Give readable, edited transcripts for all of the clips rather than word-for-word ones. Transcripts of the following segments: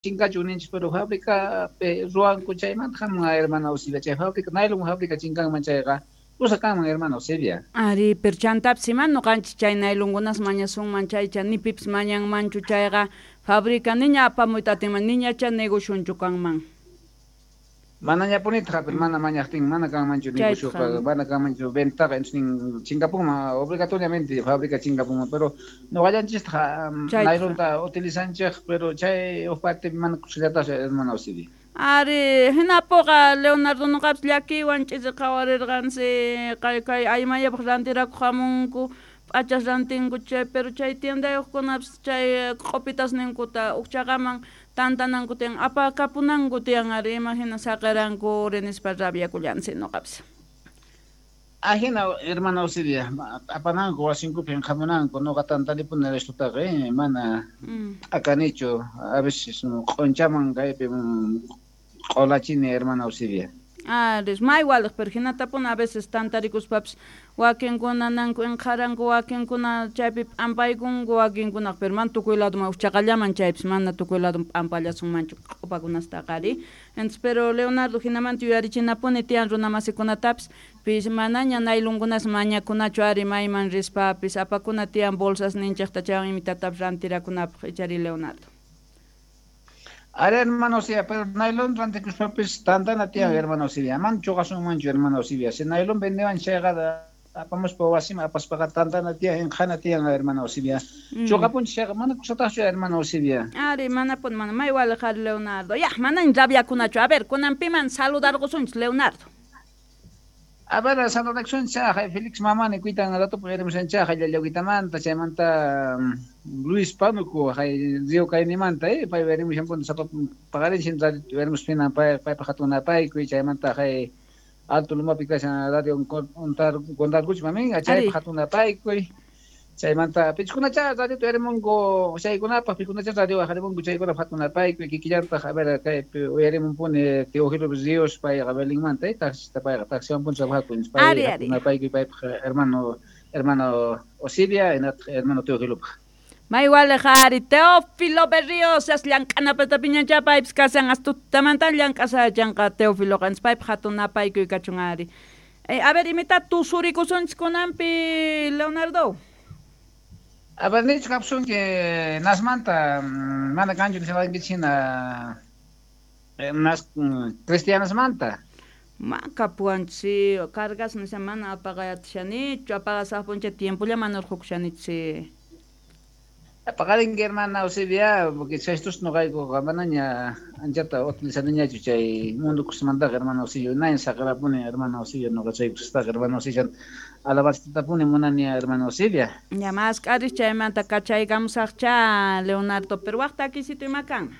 Chinkachun ninchis, pero fábrica ruwanku chaymanta hamun, hermana Eusebia. Chay fábrica, nylon fábrica chinkanman chayqa, kusa kanman, hermana Eusebia. Ari, pero chantapis ima noqanchis chay nailonkunas mañasunman chaycha, ni pipis mañanmanchu chayqa, fábrica niña apamuyta atinman, niñacha negocionchu kanman. Manañapunitaq, pero mana mañaqtin mana kanmanchu negocioqa, mana kanmanchu ventaqa, entonces nin chinkapunman obligatoriamente fábrica chinkapunman, pero noqallanchistaq nailonta utilizanchej, pero chay huk parte mana kusallatachu, hermana Eusebia. Ari, hinapuqa Leonardo noqapis llakiywan ch'isi qhawarirqansi, kay kay aymayapaq rantirakuq hamunku, p'achas rantinku chay, pero chay tiendayuqkunapis chay q'upitas ninkuta ukchaqaman tantananku tiyan, apakapunanku tiyan, ari imahina saqiranku nispa rabiakullansi noqapis. Ajina, hermana Eusebia, apananku wasinkupi hamunanku, noqa tantanipuni estotaqa, mana akanichu, a veces q'unchaman kaypi q'ulachini, hermana Eusebia. Ari, may waliq, pero hinatapuni a veces tantarikuspapis wakinkuna nanku inqharanku, wakinkuna chaypi p'ampaykunku, wakinkunaq, pero mana tukuy ladoman uchaqallaman chaypis mana tukuy ladoman p'ampallasunmanchu q'upakunastaqa ari. Entonces, pero Leonardo hinamanta yuyarichinapuni tiyan runamasikunatapis, pis manaña nailonkunas mañakunachu ari mayman rispapis, apakuna tiyan bolsas ninchikta chaywan imitatapis rantirakunapaq, ichari Leonardo. Ari, hermano Eusebia, pero nylon rantikuspapis tantana tiyan, hermano Eusebia. Man chuqasunmanchu, hermano Eusebia. Si nylon vendewan chayqa apamuspa wasiman apaspaqa tantana tiyan, inqhana tiyan, hermano Eusebia. Chuqapunchis chayqa mana kusataqchu, hermano Eusebia. Ari, manapuni, mana may waliq ari Leonardo. Ya, manañ rabiakunachu. A ver, kunan piman saludarqusunchis, Leonardo. A ver, saludakusunchis, Félix Mamani kuitan ratupi uyarimushanchaj llallawkitamanta, chaymanta Luis Pánuco, Río Cainimanta, pay uyarimushan sapa paqarinsin radio uyarimuspina paypaq hatun napaykuy, chaymanta Alto Lumapi kashan radio Contarcuch mamin, chaypaq hatun napaykuy, chaymanta pichkunacha radio uyarimunku chaykunapaq, pichkunacha radio uyarimunku chaykunapaq hatun napaykuy, kikillantaq, a ver, kaypi uyarimunpuni Teófilo Ríos payqa Belinmanta, taxista payqa taxiwan punta trabajapun, pay hatun napaykuy paypaq hermano Eusebia, hermano Teófilopaq. May waliq ari Teófilo Berríos, as llank'anapata piñancha paypis kashan, as tutamanta llank'asachanqa Teófiloqa, entonces paypaq hatun napaykuy kachun ari. A ver, imita tusurikusunchis kunanpi, Leonardo. A ver, nichu kapsunki nasmanta, mana kanchu nishawankichis hina nas cristianasmanta. Ma kapuwanchis, cargas nisha mana apaqayatishanichu, apaqasaqpuncha tiempolla mana urqukushanichu. Paqarinki, hermana Eusebia, porque chaystus noqaykuqa manaña anchata utilizaniñachu chay mundo kusmantaqa, hermana Eusebia, nañ saqirapuni, hermana Eusebia, noqa chay kustaqa, hermana Eusebia, alabanzatapuni munani, hermana Eusebia. Ya mask'aris chaymanta kachaykamusaqcha, Leonardo, pero waq takisito ima kanman.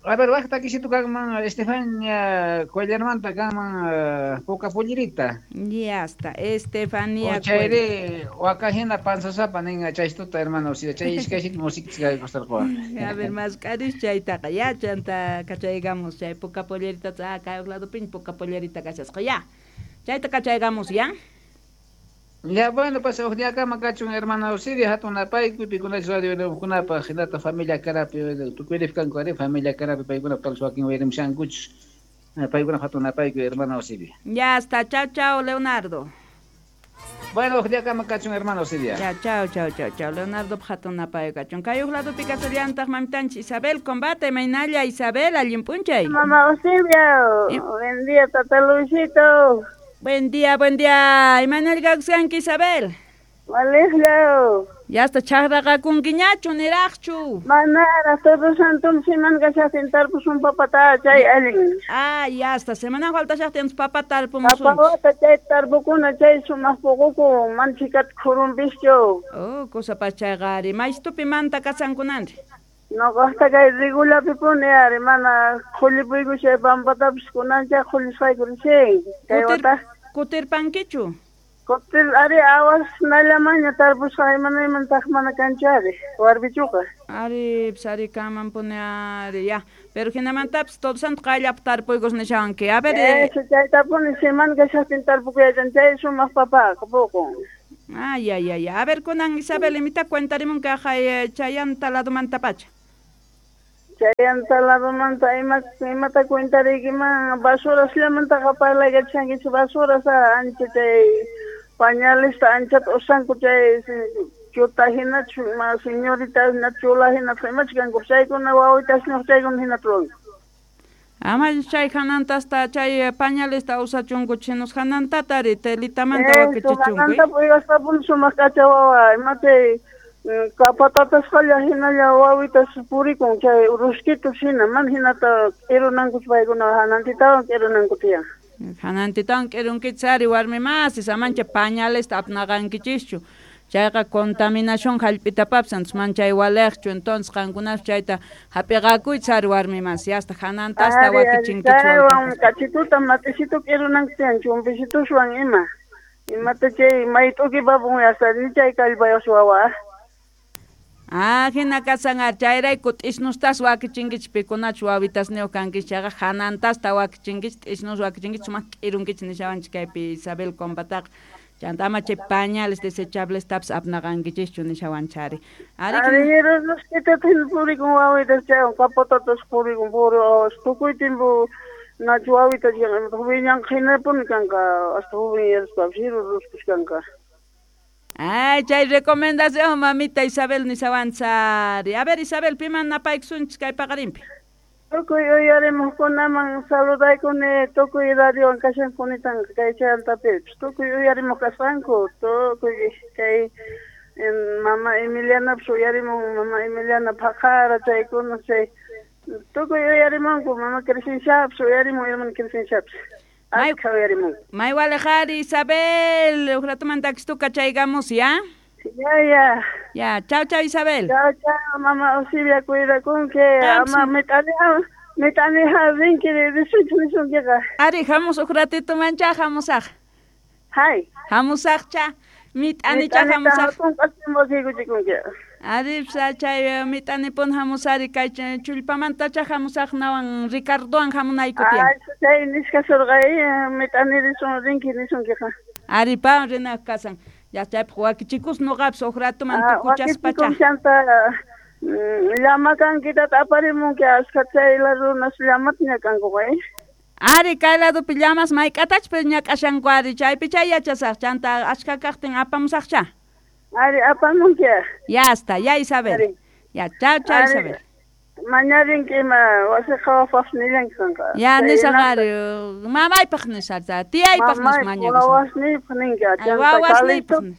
A ver, waq takisito kanman Estefania Cuellarmanta kanman Poca Pollerita. Ya está, Estefania. O chayri wakajina panzasapa ninga chaystuta, hermano Eusebia, chay iskaysit música gustarqua. A ver, mask'aris chaytaqa, ya chanta kachaygamos chay Poca Pollerita, kay lado pin Poca Pollerita kashasqa, ya. Chayta kachaygamos, ya. Ya, bueno, pues huk día kama kachun, hermana Eusebia, hatun napaykuy, pikunachus radio uyarimuqkunapaq, hinata familia Carapi, tukuy kanku ari familia Carapi, paykuna tal wakin uyarimushankuchus, paykuna hatun napaykuy, hermana Eusebia. Ya está, chao, chao, Leonardo. Bueno, huk día kama kachun, hermana Eusebia. Ya, chao, chao, chao, chao, Leonardo hatun napaykuy kachun. Kay huk ladopi kasallantaq mamitanchis Isabel Combate, maynalla Isabel, allin p'unchay. Mamá Eusebia, buen día, tata Luisito. Buen día, buen día. Imanal kakuskanki, Isabel? Walejlo. Ya está chaqraqakunkiñachu, niraqchu. Manara, Todo Santo semana kashaqtin tarpusun papata chay allin. Ah, ya está. Semana faltashaqtin papa tarpumusun. Papawata chay tarpukuna chay sumaq puquku manchikat khurunpischu. Oh, cosa pachayqa ari. Maystupi manta kasankunanri. Noqaqta kay regulapi puni ari, mana qhullipuyku chay pampatapis kunancha qhullisqayku rishin. Kay wata Kutirpankichu? Kutir ari awas nallamaña tarpusqa imanayman mana kanchu ari, warbichuqa. Ari, pis ari kaman puni ari, ya. Pero hinamantapis Todo Santo qayllapi tarpuykus nishawanki. A ver, Eso chaytapuni semana kashaqtin tarpukuyachan chay sumaq papaqa puqun. Ay, ay, ay. A ver, kunan Isabel, imita cuentarimun kaqay chayanta ladomantapacha. Chayanta ladomanta imata cuentariykiman basurasllamantaqa parlaykachankichik basuras ancha chay pañalesta anchata usanku chay chuta hinachu ma señorita hina chula hina imachu kanku chaykuna wawitasñuq chaykuna hinata ruwanku. Ama chay hanantasta chay pañalesta usachunku chinos hanantatari telitamanta wakichichunku. Hananta uywasqapuni sumaq k'acha wawa ima chay kapatatasqalla hinalla wawitas purikun chay ruskitus hina mana hinata k'irunankuchu paykuna hanantitawan k'irunanku tiyan. Hanantitawan k'irunkichis ari warmi masis amancha pañalesta apnaqankichischu. Chayqa contaminación hallp'itapapis antes man chay waliqchu entonces qankunapas chayta hap'iqakuychis ari warmi masi hasta hanantasta wakichinkichis. Chaywan kachituta mat'isitu k'irunanku tiyan chumpishituswan ima. Imata chay mayt'ukipapun hasta ni chay kallpayuq wawa. Ah, hina kasan ari chayrayku t'isnustas wakichinkichis pikunachu wawitasniyuq kankichis chayqa hanantasta wakichinkichis t'isnus wakichinkichis sumaq k'irunkichis nishawanchis kaypi Isabel Compataqa. Chanta ama chay pañales desechablestapis apnaqankichischu nishawanchari. Ari ruskitata hina purikun wawitas chaywan kapotatas purikun puri tukuy tiempo nachu wawitas wiñanqa hinapuni kanqa hasta jovenyaraspapas hiru ruskus kanqa. Ay, chay recomendación mamita Isabel nishawanchari. A ver Isabel, piman napaykusunchis kay paqarinpi. Tukuy uyarimuqkunaman saludaykuni tukuy radiowan kashankunitanqa kay chayantapipis tukuy uyarimuq kasqanku tukuy kay mama Emilianapis uyarimun mama Emiliana phaqara chaykuna chay tukuy uyarimunku mama Crescenciapis uyarimun hermana Crescenciapis askha uyarimunku. May waliq Isabel, huk ratuman takistuka chaykamus ya. Ya, ya. Ya, chao, chao Isabel. Chao, chao, mama Osibia, cuidakunki. Ama mit'aniqa rinki risunchik nisunkiqa. Ari, hamus huk ratito mancha hamusaq. Hay. Hamusaqcha, mit'anicha hamusaq. Hatun Ari, chay mit'anipun hamusari kay chullpamantacha hamusaq nawan Ricardowan hamunayku tiyan. Ay, chay nisqa surqay mit'ani risun rinki nisunkiqa. Ari, pa rinaq kasan. Ya chaypaq wakichikus nuqapis huk ratuman tukuchaspacha. Chanta llama kankitata aparimunki askha chay runas llamata ñak'ankuqa. Ari, kay ladopi llamas mayk'atachus pero ñak'ashanku ari chaypi chay yachasaq chanta achka kaqtin apamusaqcha. Ari, apamunki. Ya está, ya Isabel. Ya, chao, chao Isabel. Mañarinki ima wasi qhawapaq nillanki kanqa. Ya nisaq ari mamaypaq nisaq tiyaypaq nis mañakusaq. Wawasniypaq ninki. Wawasniypaq nis.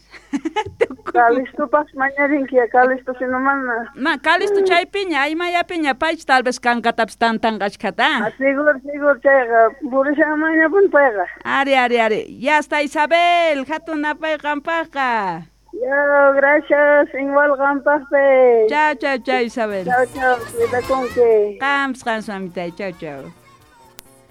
Calistopaq mañarinki Calisto sino mana. Ma Calisto chaypiña aymayapiña paychu tal vez kankatapis tantanqa achkhata. Seguro seguro chayqa purishanmanñapuni payqa. Ari ari ari. Ya está Isabel, hatun napay qampaqqa. Yo, gracias, igual qampaqpi. Chao, chao, chao Isabel. Chao, chao, cuidakunki. Qampas qampas mamitay, chao, chao.